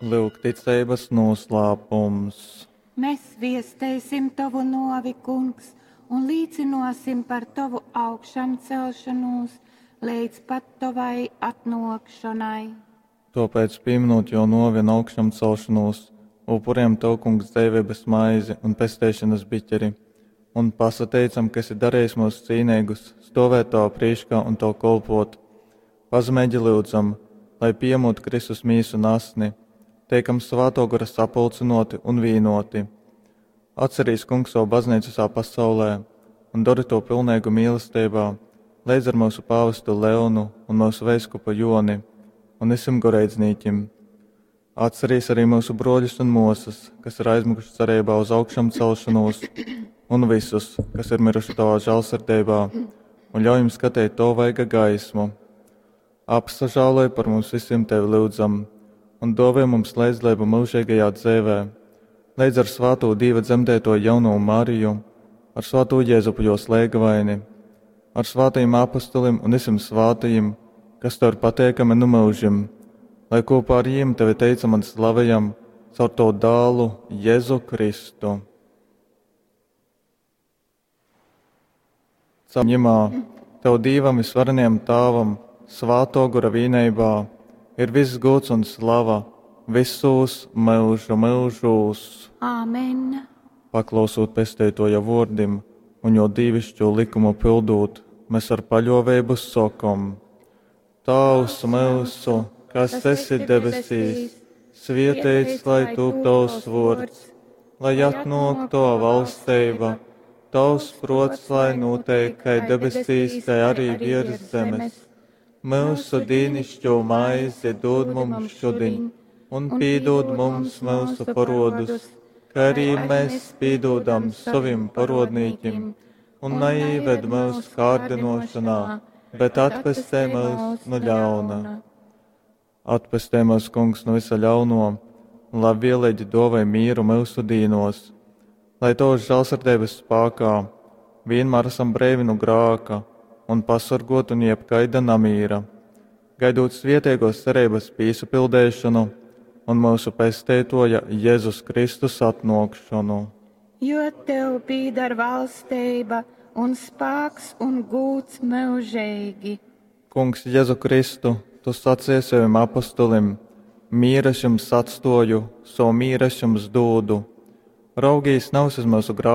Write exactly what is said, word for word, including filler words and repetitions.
Lyuk ticeibas nūslāpums. Mēs viesteisim tovu nōvi, Kungs, un līcynōsim par tovu augšamcelšonūs leidz pat tovai atnōkšonai. Tōpēc, pīminūt jō nōvi un augšamcelšonūs, upurējam Tev, Kungs, dzeiveibas maizi un pesteišonas biķeri, un pasateicam, ka esi darījis mūs cīneigus stovēt Tavā prīškā un Tev kolpot. Pazemeigi lyudzam, lai pījemot Kristus mīsu un asni, teikam Svātō Gora sapulcynōti un vīnōti. Atcerīs, Kungs, savu baznīcu visā pasaulē un dori to pilneigu mīlestībā, leidz ar mūsu pāvestu Leonu un mūsu veiskupu Joni un visiem goreidznīkim. Atcerīs arī mūsu broļus un mūsas, kas ir aizmiguši cerībā uz augšamcelšanos, un visus, kas ir miruši tavā žēlsirdībā, un ļauj jums skatīt to vaiga gaismu. Apsažāloj par mums visiem tevi lūdzam, un dāvā mums līdzdalību mūžīgajā dzīvē, līdz ar svāto Dieva dzemdēto jauno Mariju, ar svāto Jēzupu jos lēgavaini, ar svātajiem apustulim un visiem svātajiem, kas tev ir pateikami nu mūžim, lai kopā ar jiem tevi teicam un slavējam caur to dālu Jēzu Kristu. Caur ņemā, tev Dīvam visvarenajam Tāvam, svāto gora vīneibā, ir viss gods un slava visos mūžu mūžos. Āmen. Paklausot pesteitoja vārdim un jo dīvišķo likumu pildot, mēs ar paļoveibu sokom: Tavs mūsu, kas esi debesīs, svietēts lai tūp tavs vārds, lai atnāk tava valstība, tavs prots, lai notiek, kā debesīs, tai arī virs zemes. Mūsu dīnišķo maizi dod mums šodien, un pīdod mums mūsu parodus, kā arī mēs pīdodam savim parodnīkim, un neīved mūsu kārdinošanā, bet atpestē mūs no ļauna. Atpestē mūs, Kungs, no visa ļauno, un labvēlīgi dāvāj mieru mūsu dīnos, lai tavas žēlsirdības spēkā vienmēr esam brīvi no grāka un pasargot un jebkaida namīra, gaidot svietiegos cerības pīsapildēšanu un mūsu pesteitoja Jēzus Kristus atnākšanu. Jo tev pīdar valstība un spēks un gūts mūžīgi. Kungs, Jēzu Kristu, tu sacīji saviem apustulim: Mīras jums atstoju, savu mīras jums dūdu. Raugīs nav uz mūsu grāku,